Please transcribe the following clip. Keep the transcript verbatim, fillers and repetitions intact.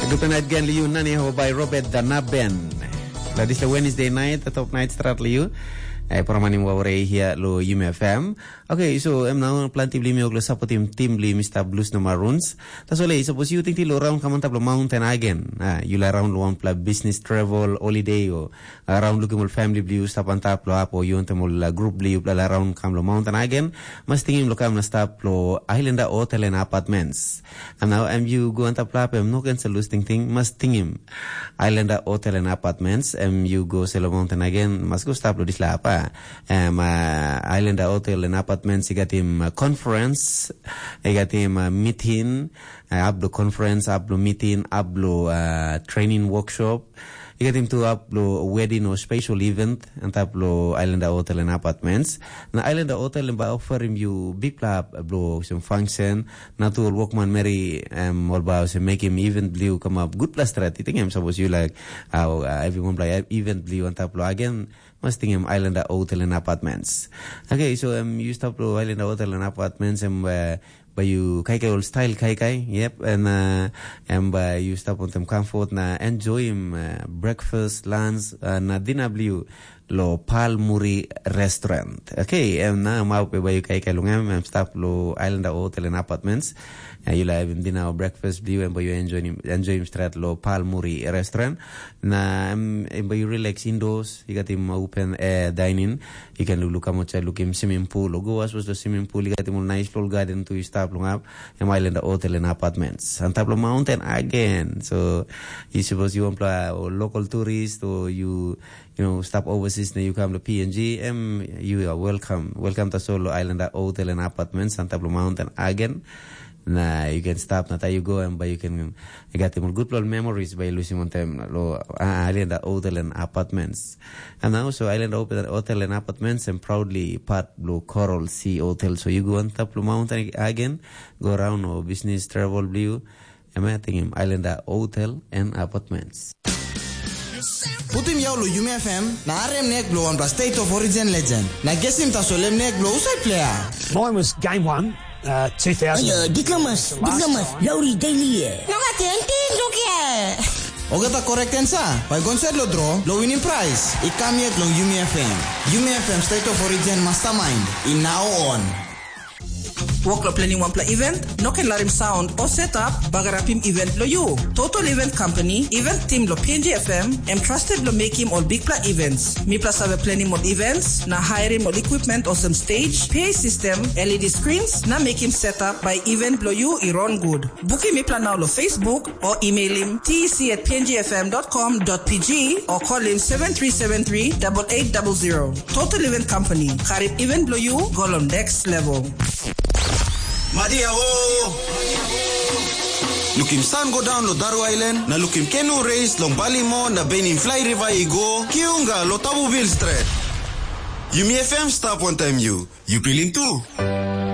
Guten Nacht gen liu nani ho by Robert Danaben. La dis la Wednesday night, the top night strat liu. Eh, promanim wawre hia lo Yumi F M. Okay, so em now planti bli mi oglo supportim team bli Mister Blues no Maroons. That's all, eh, suppose you think lo round come on top lo mountain again. Ah, you la round lo one pla business travel, holiday o around looking all family bli stap on top lo up o you want them all uh, group bli la round come lo mountain again. Mas tingim lo come na stop lo Islander Hotel and Apartments. And now em you go on top lo up em no cancel lose ting ting mas tingim. Islander Hotel and Apartments em you go selo mountain again mas go stop lo dis la apa. Em uh, Islander Hotel and Apartments you got him uh, conference, you got him uh, meeting, uh, up lo conference, up lo meeting, up lo uh, training workshop. You got him to up lo wedding or special event and up lo Islander Hotel and Apartments. Na Islander Hotel and by offer him you big club blo some function. Na tu ol workman meri em ol ba se make him event bliu come up good plus strat. You think him suppose you like how uh, everyone play event bliu on top lo again. Mas ting em Islander Hotel and Apartments. Okay, so em you stop lo Islander Hotel and Apartments em uh, ba you kaikai ol style kaikai. Yep, and uh, em ba you stop on them comfort na enjoy him uh, breakfast, lunch, uh, na dinner bliu lo Palmuri Restaurant. Okay, em na mau pe ba you kaikai long em, em stop lo Islander Hotel and Apartments. Uh, you like having dinner or breakfast bliu em ba you enjoy him, enjoy him strat lo Palmuri Restaurant. Na em, em ba you relax indoors. You got him open air dining. You can look, look how much I look him swimming pool. Or go as was the swimming pool. You got him a nice little garden to you stop long up. Em Islander Hotel and Apartments. On top of mountain again. So you suppose you want to local tourist or you you know stop overseas now you come to P N G. Em you are welcome. Welcome to Solo Islander Hotel and Apartments on top of mountain again. Na you can stop na you go and but you can you got them good little memories by losing on time lo uh, Islander Hotel and Apartments. And also Islander Hotel and Apartments and proudly part lo Coral Sea Hotel. So you go on top lo mountain again, go around or business travel bliu. Em ya tingim Islander Hotel and Apartments. Putim yau lo Yumi F M na arem nek blo wanpela State of Origin legend. Na gesim tasol em nek blo usai player. Mine was game one, uh, two thousand. Ayo, diplomas, diplomas, Lowry Daily. Nonga ting ting dukia. Ogata correct answer. Bai gonset lo draw, lo winning prize. I kam yet long Yumi F M. Yumi F M State of Origin Mastermind. In now on. Wok lo planning wanpela event, no ken larim sound o setup bagarapim event lo you. Total Event Company, event team lo P N G F M, em trusted lo making all big pla events. Mipla save planning all events, na hiring all equipment olsem stage, P A system, L E D screens, na making setup by event lo you i run good. Booking mipla now lo Facebook, or email him T E C at P N G F M dot com dot P G or call him seven three seven three double eight double zero. Total Event Company, karim event blo you go long next level. Madia o! Lukim san go daun lo Daru Island, na lukim kenu reis long Balimo na benim fly river i go, kiunga lo Tabubil Stret. Yumi F M stap wantaim yu. Yu pilim tu?